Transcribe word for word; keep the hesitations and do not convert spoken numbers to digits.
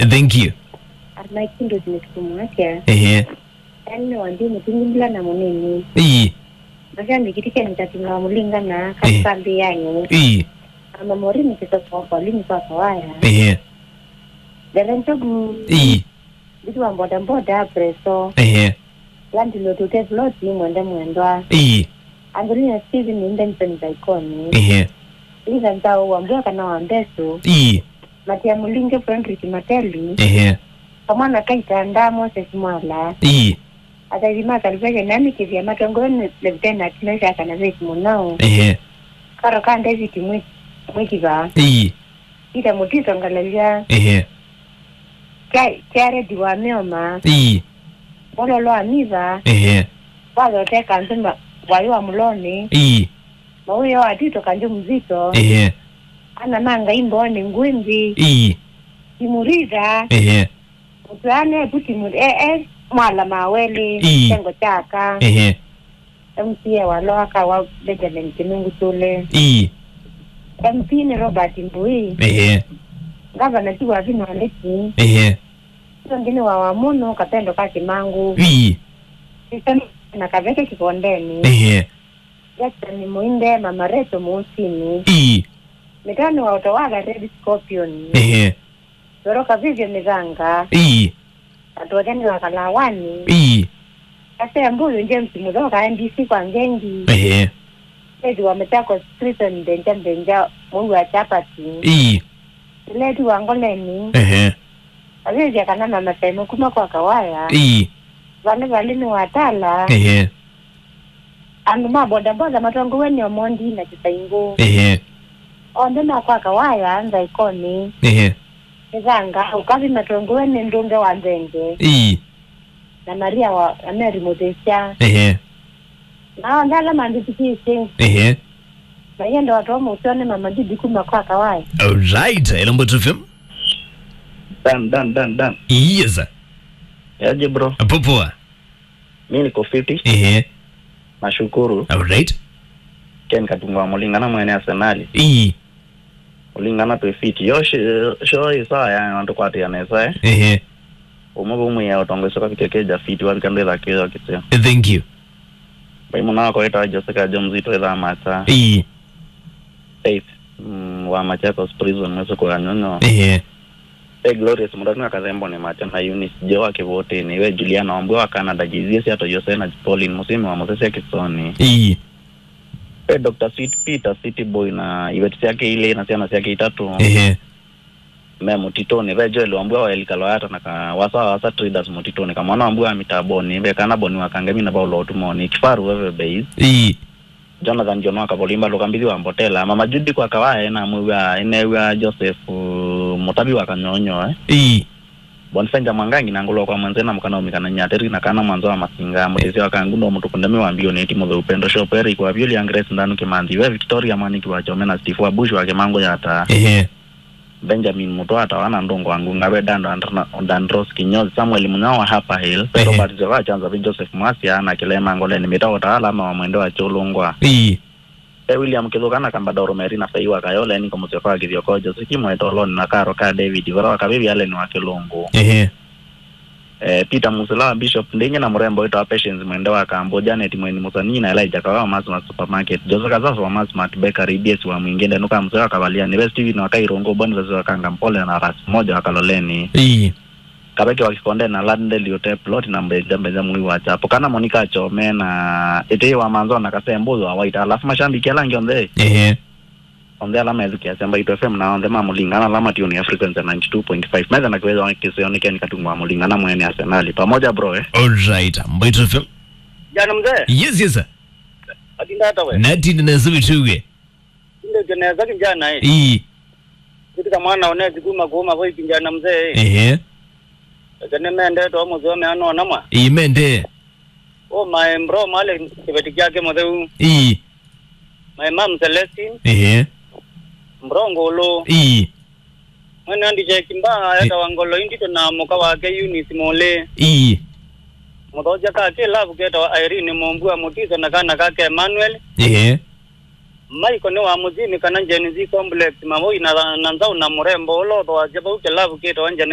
Thank you. Ana kindu ni kumwakia. Ehe. Yaani ni wandi mutungi mbula na munini. Ii. Masha mikitike nitatunga mulingana. Eh. Katika mbi yanyu. Ii. Ama mori ni kitoko kwa lini kwa kawaya. Ehe. Dere njogu. Ii. Bitu wa boda boda preso. Ehe. Landlord Hotel Plot ni mwende mwendwa. Ii. Angelina Steven ni Benson Zaikoni. Ehe. Lisa Ntao wa Mbua kana wa Mbesu. Ii. Matia Mulinge Frederick Mateli. Ehe. Kamwana Kaitanda Moses Mwala. Ii. Athaithi ma Salvation nani kithia matongwe ni Lieutenant Meshach na Faith Munau. Ehe. Karo ka David Mwi-, Mwikiva. Ii. Peter Mutito Ngalalia. Ehe. Kia, kia Redi wa Mioma. Ii. Mololo wa Miva. Ehe. Wathote kanzima wayo wa Muloni. Ii. Mauyo wa Tito Kanjo Mzito. Ehe. Ana ma Ngai Mboni Ngwimbi. Ii. Timurida. Ehe. Mutwane Puti Muri. E, e, Mwala Maweli. Ii. Tengo Chaka. Ehe. M C A wa Lower Kawa Benjamin Kinungu Tule. Ii. M P ni Robert Mbui. Ehe. Gavana ti wa Vino Aleki. Ehe. Ũngĩ nĩ wa Wamono, Kapendo ka Kimangu. Ii. Sisani na Kaveke Kikondeni. Ehe. Jackson Muinde, Mama Reto Muusini. Ii. Mitani wa Utawala Red Scorpion. Ehe. Toro Kavivyo Mithanga. Ii. Atwethani wa Kalawani. Ii. Ase Mbuyu James Muthoka M D C kwa Ngengi. Ehe. Lady wa Machakos Prison Benja Benja Mui wa Chapati. Ii. Lady wa Ngoleni. Ehe. Avĩvya kana mama Simon kuma kwa Kawaya. Ii. Vali vali nĩ watala. Ehe. Andũ ma bodaboda matongowe nĩ Omondi na Kĩsaingũ. Ehe. Onthe ma kwa Kawaya, Nzaikoni. Ehe. Mĩthanga, ũkavi matongowe nĩ Ndũnge wa Nzenge. Ii. Na Maria wa, na Mary Mũthĩsya. Ehe. Na onthe ala mandĩthukĩĩsye. Ehe. Mayenda watoa mũseo nĩ mama Judy kuma kwa Kawaya. Alright, hello Mbutu F M. Dan, Dan, Dan, Dan. Yes, sir. Yaje, bro? Poa poa. Mi niko fiti. Ehe. Nashukuru. Alright. Ken Katunga wa Mulingana mwene Arsenal. Ii. Mulingana twe fiti. Yo shi-, sho isaa ya ndo kwati ya nesa, eh. Ehe. Umwe umwe ya utongo soka fiti keja fiti wa kande la kio kitio. Eh, thank you. Bai mwana wako eta Jessica Jones ito ila mata. Ii. Faith, mm, wa Machakos Prison, mwese kwa nyonyo. Ehe. E Glorious Murang'a Kathembo nĩ Mate na Eunice Joa Kĩvũtĩnĩ, we Juliana Wambua wa Canada, Jizia Siato Jose na Pauline Musimi wa Mũsesya Kĩsoni. Ii. E Doctor Sweet Peter, City Boy na iveti syake ilĩ na syana syake itatũ. Ehe. Me mũtitũnĩ, ve Joel Wambua wa Elika Loyata na ka wasa wa wasa Traders mũtitũnĩ, Kamwana Wambua wa Mitabonĩ, ve kana Boni wa Kangemi na Paulo Ũtumonĩ, Kifaru Veve Base. Ii. Jonathan John wa Kavolimba, Luka Mbithi wa Mbotela, Mama Judy kwa Kawaya, ĩnamwĩw'a, ĩnew'a Joseph, uh, Mutavi wa Kanyonyo, eh? Ii. Bonifenja Mwangangi na ngũlwa kwa mwenze na mũkana ũmĩkanany'a ateri na kana mwanza wa Masinga, mũtĩsya wa Kangundo, mũtuku ndemi wa Mbioni, ĩti mũtheu Pendo Shop, Eric wa Vyũli, Grace Ndanu Kĩmanthi, we Victoria Mwaniki wa Kyome na Steve wa Bush wa Kĩmango ya Taa. Ehe. Benjamin Mũtwata, wana ndũngũ wa Ngunga, ve Dando Andra-, Dandros Kinyozi, Samuel Munyao wa Upper Hill, ve Ehe. Robert Nzeva wa Chanza, ve Joseph Mwasia, na Kilema Ngoleni, Mita Ũtaala, ma wa Mwende wa Kyũlũngwa. Ii. Ve William Kĩthũka na Kambadoro Meri na Fei wa Kayole, Niko Mũsyoka wa Kĩthioko, Joseki Mwetoloni na Karo ka David, Vara wa Kavivi Allen wa Kĩlũngũ. Ehe. Eh, Peter Musila wa Bishop Ndingi na mũrembo wĩtawa Patience Mwende wa Kambo, Janet Mweni Mũsanii na Elijah Kawa wa Masmart Supermarket, Jose Kasasa wa Masmart Bakery, B S wa Mwingĩ, Ndenuka Mzee wa Kavaliani, ve Steven wa Kairungu, Boniface wa Kanga Mpole na Ras Moja wa Kaloleni. Ii. Kaveke wa Kikonde na Landeli Hotel Plot na Mbenja Mbenja Mui wa Chapo. Kana Monica Chome na Ĩtĩĩ wa Manzo na Kasembo wa Waita. Alafu mashabiki ala angĩ onthe. Ehe. Onthe ala methukĩasya Mbaitũ F M na onthe ma Mũlingana ala matiũnĩa frequency ya ninety two point five. Metha na kĩwethwa kĩseo nĩ Ken Katungu wa Mũlingana mwene Arsenal. Pamoja bro, eh? All right, Mbaitũ F M. Jana mzee. Yes, yes, sir. Atinda hata we. Natindi na zubi tuge. Tinde nesa kijana, eh. Ii. Kitika mwana onezi kuma kuma voi kijana mzee, eh. Ehe. Eke nĩ mendete o mũthome anona mwa. Ii, mende. Oh my bro, Male kĩveti kyake mũtheu. Ii. My mom Celestine. Ehe. Bro Ngolo. Ii. Mwene Andy Jack Mba, etawa Ngolo Indito na mũka wake Eunice Mole. Ii. Mũthoja ka kĩlavu ketawa Irene Mombua Mutiso na kana kake Emmanuel. Ehe. Maiko nĩ wa mũthini kana Gen Z Complex, Mavoi na, na Nzau na mũrembo ũla ũthoasya vau kĩlavu kĩtawa Gen